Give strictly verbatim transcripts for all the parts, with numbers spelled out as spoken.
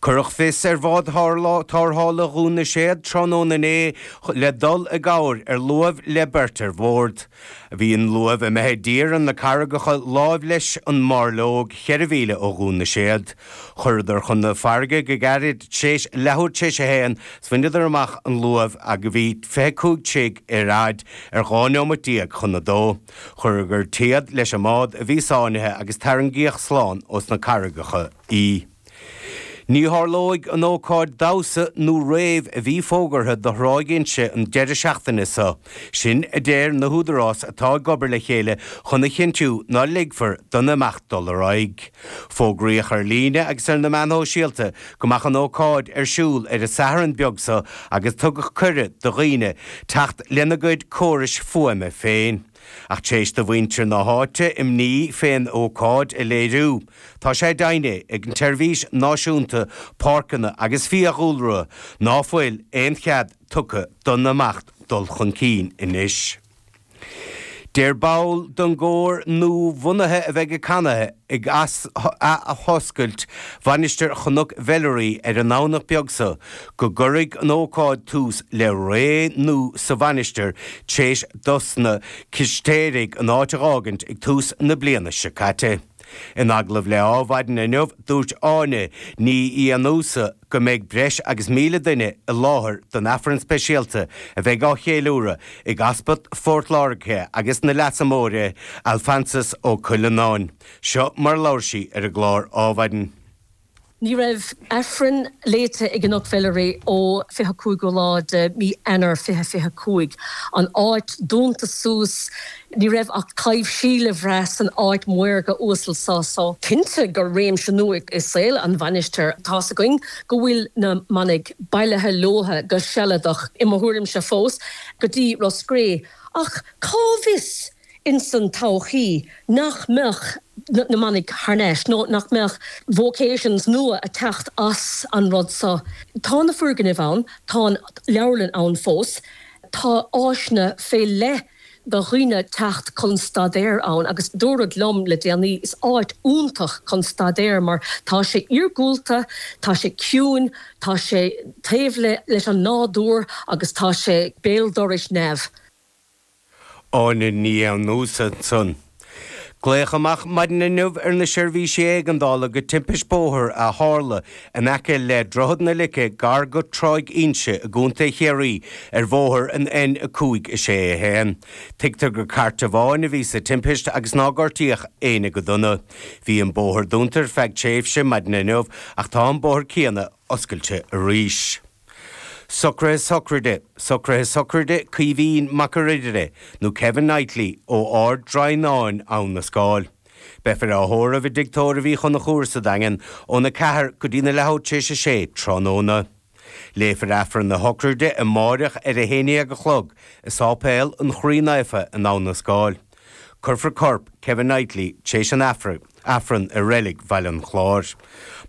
Cuireadh fios ar bhád tarrthála Dhún na Séad tráthnóna inné le dul i gcabhair ar luamh le beirt ar bord. Bhí an luamh imithe i dtír ar na carraigeacha láimh leis an mBairleog cheithre mhíle ó Dhún na Séad. Chuireadar chun na farraige go gairid tréis leathuair tréis a haon 's bhaineadar amach an luamh agus bhí fiche cúig troigh ar fhaid ar dhá neomat déag chun a dó. Chuireadar téad leis an mbád a bhí sáinnithe agus tarraingíodh slán ós na carraigeacha í. Ní tharlóidh an ócáid damhsa nó rave a bhí fógartha do Thráigh Inse an deireadh seachtaine seo. Sin a deir na húdaráis atá ag obair le chéile chun a chinntiú ná ligfear don imeacht dul ar aghaidh. Fógraíodh ar líne agus ar na meáin shóisialta go mbeadh an ócáid ar siúl ar an Satharn beag seo agus tugadh cuireadh do dhaoine teacht lena gcuid córais fuaime féin. Ach tréis do mhuintir na háite imní fén ócáid a léiriú, tá sé deimhnithe ag an tSeirbhís Náisiúnta Páirceanna agus Fiadhúlra ná fuil aon chead tugtha don imeacht dul chun cinn anois. Deir ball den gcór nua-bhunaithe a bheidh ag canadh ag athoscailt Mhainistir Chnoc Mheilearaí ar an nDomhnach beag seo go gcuirfidh an ócáid tús le ré nua sa mhainistir tréis dos na Cistéirigh an áit a dh'fhágaint ag tús na bliana seo caite. In agallamh le Adhmhaidin inniu, dúirt Áine Ní Fhiannúsa go mbeidh breis agus míle duine i láthair don Aifreann speisialta a bheidh á cheiliúradh ag Easpag Phort Láirge agus na Leasa Móire, Alphonsus Ó Cuileanáin. Seo mar a labhair sí ar an gclár Adhmhaidin. Ní raibh Aifreann léite i gCnoc Mheilearaí ó fiche cúigiú lá de mí Eanáir fiche fiche cúig. An áit dúnta suas, ní raibh ach taibhsí le bhrath san áit maorga uasal so. So cinnte gur réimse nua i saol an mhainistir. Tá's againn go bhfuil na manaigh bailithe leotha go sealadach, i mo thuairimse fós, go dtí Ros Cré. Ach cá bhfios? ins an todhchaí nach mbeadh na manaigh thar n-ais nó nach mbeadh vocations nua a teacht as an rud so. Tá na foirgnimh ann, tá an leabharlann ann fós, tá áiseanna fé leith do dhaoine teacht chun staidéir ann agus dúradh liom le déanaí is áit iontach chun staidéir mar tá sé iargúlta, tá sé ciúin, tá sé taobh leis an nádúr agus tá sé béal dorais neamh. Áine Ní Fhiannúsa ansan. Glaodh amach maidin inniu ar na seirbhísí éigeandála go timpist bóthair a tharla in aice le Droichead na Lice gar go Tráigh Inse i gContae Chiarraí ar bhóthar an N a cúig a sé a haon. Tuigtear gur cairt amháin a bhí sa timpist agus nár gortaíodh éinne go dona. Bhí an bóthar dúnta ar feadh tréimhse maidin inniu ach tá an bóthar céanna oscailte arís. Socruithe sochraide, Socruithe sochraide Caoimhín Mac a' Ridire nó Kevin Knightley ó Ard Droighneáin, Abhainn na Scáil. Beifear á thórramh i dTigh Tórraimh Uí Chonchúir sa Daingean óna ceathair go dtí na leathuair tar éis a sé tráthnóna. Léifear Aifreann na sochraide amáireach ar a haon déag a chlog i Sáipéal an Chroí Naofa in Abhainn na Scáil. Cuirfear corp Kevin Knightley tar éis an Aifrinn i Reilig Bhaile an Chláir.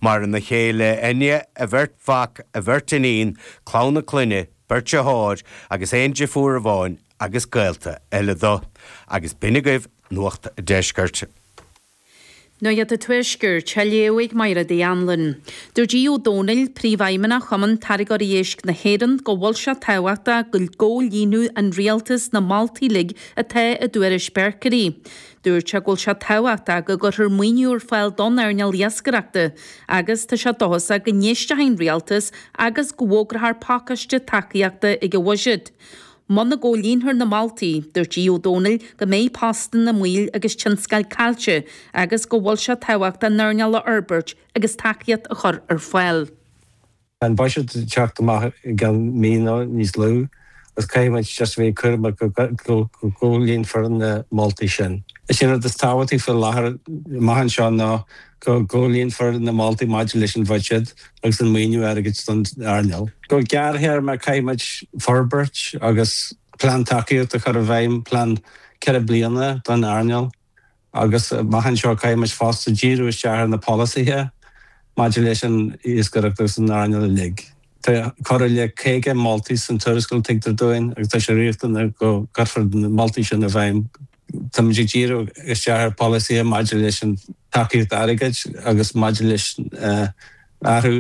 Maireann a chéile Enya, a bheirt mhac, a bheirt iníon, clann a clainne, beirt deartháir agus aon deirfiúr amháin agus gaolta eile dó. Agus b'in agaibh Nuacht an Deiscirt. Nuacht an Tuaiscirt, á léamh ag Máire Uí Anluain. Dúirt Aodh Ó Domhnaill, Príomhfheidhmeannach Chumann Táirgeoirí Éisc na hÉireann, go bhfuil sé tábhachtach go gcomhlíonfadh an rialtas na moltaí uilig atá i dtuairisc Berkery. Dúirt sé go bhfuil sé tábhachtach go gcuirfear maoiniú ar fáil don earnáil iascaireachta agus tá sé dóchasach go n-éistfidh an rialtas agus go bhfógrófar pacáiste tacaíochta ag an bhuiséad. Muna gcomhlíonfar na moltaí, dúirt Aodh Ó Domhnaill go mbeidh postanna i mbaol agus tionscail caillte agus go bhfuil sé tábhachtach an earnáil a fhorbairt agus tacaíocht a chur ar fáil. Tá an buiséad ag teacht amach i gceann mí nó níos lú agus caithfidh muid just a bheith cúramach go gcomhlíonfar na moltaí sin. Is é an rud is tábhachtaí faoi láthair amach anseo ná go gcomhlíonfar na moltaí maidir leis an bhuiséad agus an maoiniú airgid don earnáil. Go gearrthéarma caithfidh muid forbairt agus plean tacaíochta a chur i bhfeidhm, plean ceithre bliana don earnáil agus amach anseo caithfidh muid fosta díriú isteach ar na polasaithe maidir leis an iascaireacht agus an earnáil uilig. Tá corradh le caoga moltaí san tuarascáil tuigtear dúinn agus tá sé riachtanach go gcuirfear na moltaí sin i bhfeidhm. Táimid ag díriú isteach ar pholasaithe maidir leis an tacaíocht airgid agus maidir leis athrú